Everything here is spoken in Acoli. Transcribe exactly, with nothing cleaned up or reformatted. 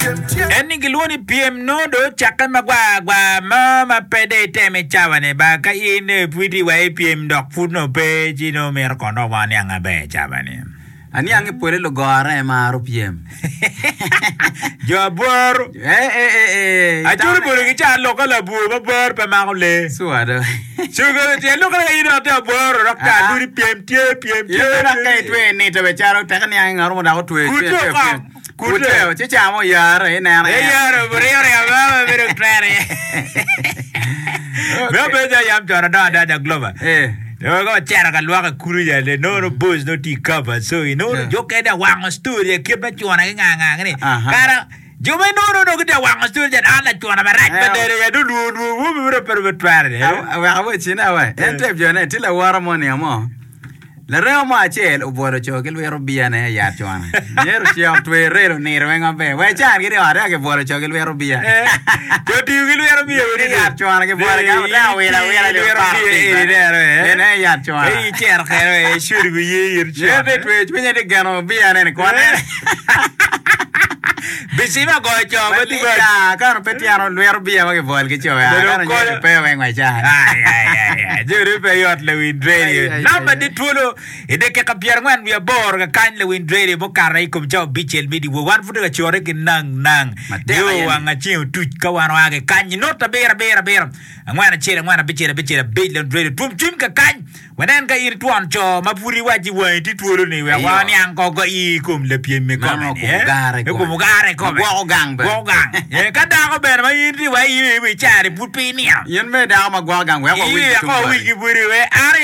En ni gilwongo ni pyem nongo dong ocakke magwar gwar mo ma pe dong itemo i cawa-ni ba ka in pud itye wa i pyem dok pud nongo pe ci nongo mito kono dok waniang maber i cawa-ni. Aniang ni pole lugore maro pyem. Jo abworo. Eh, eh, eh, eh. Aculo bolo ki ca loka labwor ma bworo pe mako lee. Sure do. Cugo tyen loka ka in dok tye abworo dok ta Ah. adudi pyem tye pyem tye. Ye dok ka itwe nito be calo teke niang ngat mo dok otwe Kute twe twe oko. pyem. Kute. Kute ci camo oyare ineno. E yaro buriyo riyo ma bedo twere. Me obedo ca yam con adongo adada Glover. Eh. Yo ka wacito ka lwok i kulu ja de nono boys no tye i cover so inono Yeah. jo kene wango story e kit me cuna ki nga nga ni. Aha. Kara jo ma inono no gitye wango story ja an lacuna marac Eh. pa dere ya do luo luo wo me bedo pe twere de. Wek awaci ne we. En tep jone tye laworo mo niang mo. Laremo mo acel obwolo co ki lwito bia ne i yat cwana. Myero ocek otwe relo nito weng maber. Wek can gidi ot eka kibwolo co ki lwito bia. Jo tiyo ki lwito bia I yat cwana kibwolo ki ota wila wila lwito bia eni neno eh. En aye yat cwana. Ei icero kene eh shuri bi ye in Myero con. te twe cwinye ti geno bia ne ni kwane. Bicima goyo co ma tye ba. Ya, kano pe tyeno lwito bia ma kibwolo ki co ya. Bedo Kano konyo. nyuto pe weng wa can. Ai, ai, ai, ai. Joni pe yot lawiny radio. Ai, ai, Namba ai, di ai. twolo i dakika pyerangwen wiye aboro kakany lawiny radio mukato i kom cawa abicel me dyewor. Wan pud tye ka core ki nang nang. Matek Nio aye ni. wang aceng otuc ka wan oa ki kany. Not abiro abiro abiro angwen acel angwen abicel abicel abic lawiny radio. Twom cwiny kakany. Wanen ka in twon co ma pud iwaci wangi tye twolo ni wek Iyo. waniang ko i i kom lapyem i kome Mano ni, kom eh? ogare I kom kome. ogare kome. Gwoko gang bene. Gwoko gang. Eh, ka dako bene ma in tye wa i i cari pud pe iniang. In me dako ma gwoko gang wek wawinj Iya, ki tung ko boti. wigi budi we. An